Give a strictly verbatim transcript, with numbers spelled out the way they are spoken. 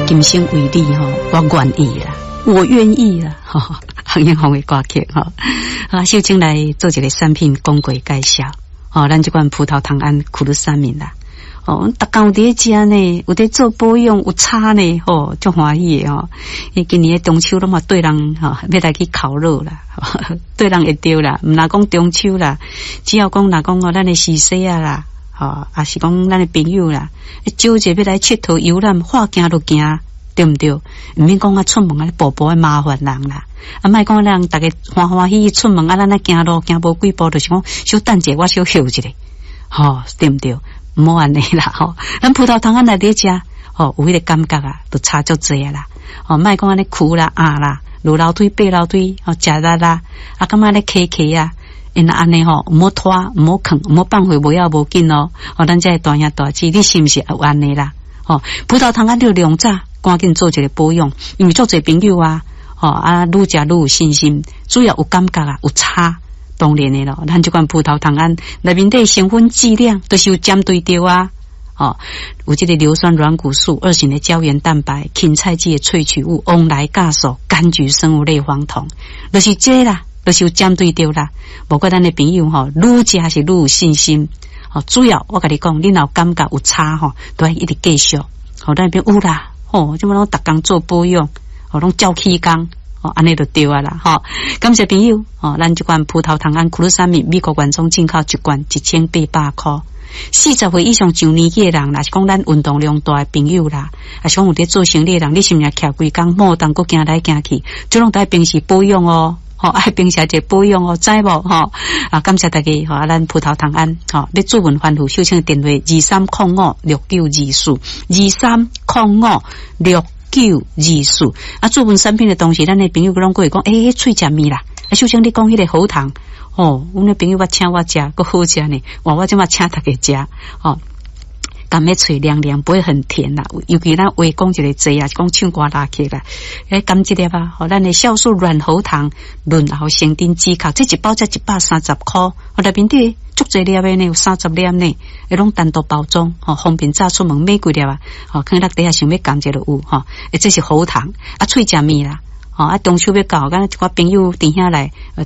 今生為你吼，我願意啦，我願意啦，吼，洪英紅的歌曲吼。啊，秀清來做一個產品廣告介紹，吼，咱這款葡萄糖胺苦魯三明啦。哦，逐工有佇咧食呢，有佇做保養，有差呢，吼，足歡喜的吼。伊今年的中秋攏嘛綴人吼，欲來去烤肉啦，綴人會著啦，毋若講中秋啦，只要講若講哦，咱的時勢啊啦，吼，抑是講咱的朋友啦，招一個欲來𨑨迌遊覽，話行就行，對毋對？毋免講啊，出門啊，步步愛麻煩人啦。啊，莫講人逐家歡歡喜喜出門啊，咱來行路行無幾步，就是講小等者，我小歇一下，吼，對毋對？毋好按呢啦，吼！咱葡萄糖胺來佇食，吼，有彼個感覺啊，就差足濟啊啦。吼，莫講按呢跍啦、壓啦，落樓梯、爬樓梯，吼，食力啦，啊，感覺咧磕磕啊，因按呢吼，毋好拖，毋好囥，毋好放棄，無要無緊哦。吼，咱這個大兄大姊，你是毋是有按呢啦？吼，葡萄糖胺著量早，趕緊做一個保養，因為足濟朋友啊，吼啊，愈食愈有信心，主要有感覺啊，有差。當然的咯，咱這款葡萄糖胺內面底成分劑量都是有針對著啊，哦，有這個硫酸軟骨素、二型的膠原蛋白、芹菜籽的萃取物、黃來酵素、柑橘生物類黃酮，就是這個啦，就是有針對著啦。無怪咱的朋友吼，愈食是愈有信心。哦，主要我共你講，你若有感覺有差吼，都愛一直繼續。吼，咱邊有啦，吼，這麼攏逐工做保養，吼，攏照起工。按呢就對啊啦，吼！感謝朋友，吼，咱這款葡萄糖胺苦魯三明美國原裝進口一罐一千八百箍。四十歲以上上年紀的人，若是講咱運動量大的朋友啦，抑是講有佇做生理的人，你是毋是徛規工莫當閣行來行去，這攏愛平時保養哦，吼，愛平時一個保養哦，知無？吼，啊，感謝大家，吼，啊，咱葡萄糖胺，吼，欲諮詢番號，秀清電話二三空五六九二四，二三空五六九二四。啊，諮詢產品的同時，咱的朋友攏過會講，欸，喙食物啦，啊，秀清你講彼個喉糖，哦，阮的朋友我請我食，閣好食呢，哇，我這馬請大家食，吼。甘咧喙涼涼，不會很甜啦。尤其咱話講一個濟啊，是講唱歌拉起啦，欸，甘這粒啊，吼，咱的酵素軟喉糖潤喉生津止咳，這一包才一百三十箍，我內面底足濟粒的呢，有三十粒呢，會攏單獨包裝，吼，方便早出門買幾粒啊，吼，囥落底下想欲含一下就有，吼，欸，這是喉糖，啊，喙食物啦，吼，啊，中秋欲到，敢若一寡朋友佇遐來，頭。